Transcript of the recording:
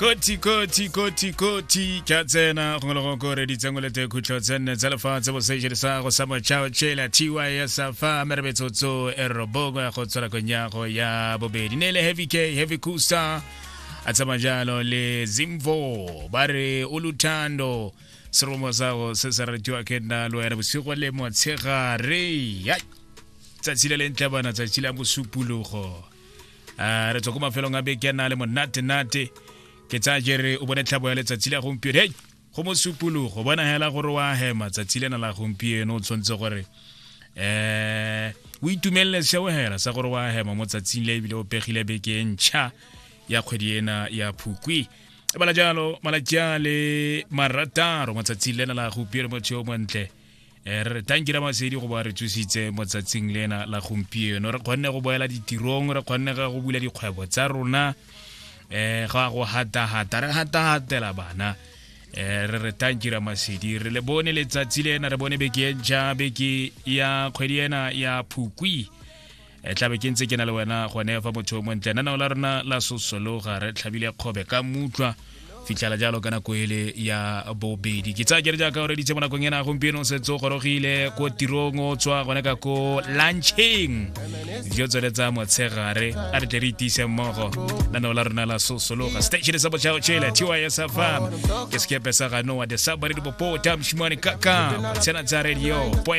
Koti koti koti koti ke a tsena gongwe le gongwe ko reditseng o lete khutlo tse nne tsa lefatshe boseje sa go sa motšhao tšhela tys fa mere metsotso e robongwe go tswela konyago ya bobedi ne le Heavy K Heavy Kusa a tsamaya jalo le Zimvo ba re o luthando seromo sa go se se ratiwa ke nna le wena bosigo le motshegare. Yai, tsatsi le lentle bana, tsatsi la mosupologo. A re tswa ko mafelong a beke a na le monate-nate. Ke tsaya jere o bone tlhabo ya letsatsi la gompieno. Hei, go mosupologo, bona hela gore wa hema tsatsi lena la gompieno. O tshwanetse gore o itumelele seo hela sa gore wa hema mo tsatsing le, ebile o pegile beke e ntšha ya kgwedi ena ya Phukwi. E bala jalo malatsi a le 6 mo tsatsing lena la gompieno. Motho yo montle, re re tanki la masedi go ba re tsositse mo tsatsing lena la gompieno, re kgonne go boela ditirong, re kgonne ga go bula dikgwebo tsa rona, ga go hata-hata re hata-hatela bana. Re re tanki ra masedi, re le bone letsatsi lena, re bone beke e ntšha, beke ya kgwedi ena ya Phukwi. Tlabe ke ntse ke na le wena gone fa motho o montle nanao la rona la sosologa, re tlhabile kgobe ka mutlwa fitlhela jalo ka nako ele ya bobedi. Ke tsaya kere jaaka o reditse mo nakong ena gompieno, o setse o gorogile ko tirong, o tswa gone ka ko luncheng, dijo tsone tsa motshegare. A re tle re itise mmogo nanao la rona la sosologa, station sa botšhao tšhele TYS FM ke sekepe sa ganoa the submarine bopota moshimane kaka tsena tsa radio.